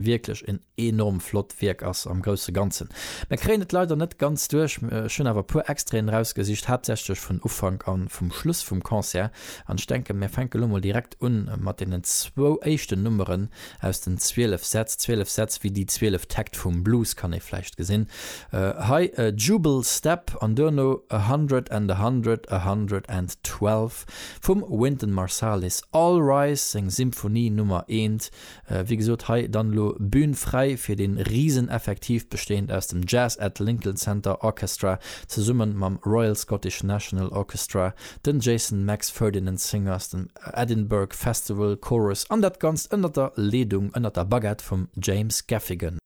Wierklech en enorm flott Wierk ass am grousse Ganzen. Mer kréien et leider net ganz duerch, ech hunn awer e puer Extraiten erausgesicht, haaptsächlech vun Ufank a vum Schluss vum Concert. An ech denken, mir fänke lo mol direkt un mat deenen zwou éischten Nummeren aus den 12 Sätz. 12 Sätz wéi déi 12 Täkt vum Blues, kann ee vläicht gesinn. Hei Jubal Step an duerno A Hundred and a Hundred, A Hundred and Twelve vum Wynton Marsalis. All Rise, seng Symphonie Nummer eent, Wéi gesot, hei dann elo Bühn fräi fir dee Riseneffektiv, bestehend aus dem Jazz at Lincoln Center Orchestra zesummen mam Royal Scottish National Orchestra, den Jason Max Ferdinand Singers, dem Edinburgh Festival Chorus an dat Ganzt ënnert der Leedung, ënnert der Baguette vum James Gaffigan.